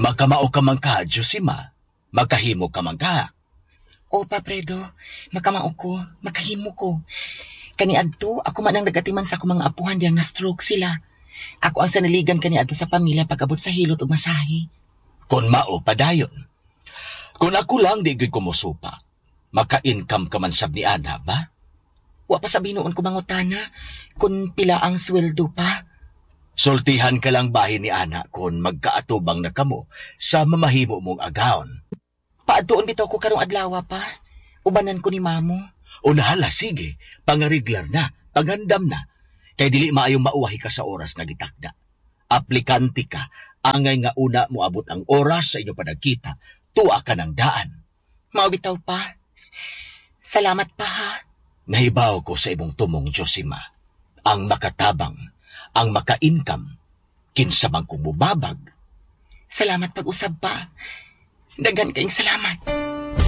Makamao ka man ka, Josima. Makahimo ka man ka. O pa, Fredo, makamao ko, makahimo ko. Kaniadto, ako man ang nagatiman sa akong mga apuhan diyang na-stroke sila. Ako ang sanaligan kaniadto sa pamilya pag-abot sa hilot ug masahe. Kung mao padayon. Kung ako lang di gyud ko mosupa, maka-income ka man sab ni ana ba? Wa pa sa binuon ko mangutana kung pila ang sweldo pa. Sultihan ka lang bahin ni ana kung magkaatubang na kamo sa mamahimo mong agawon. Paadtuon bitaw ko karong adlaw pa. Ubanan ko ni mamo. Unahala, sige, pangariglar na, pangandam na. Kay dili maayong mauwahi ka sa oras nga gitakda. Aplikante ka, angay nga una moabot ang oras sa inyo panagkita, tuwa ka ng daan. Mao bitaw pa. Salamat pa ha. Nahibaw ko sa imong tumong, Josima. Ang makatabang, ang maka-income, kinsa man kung mubabag. Salamat pag-usab pa. Daghan kayong salamat.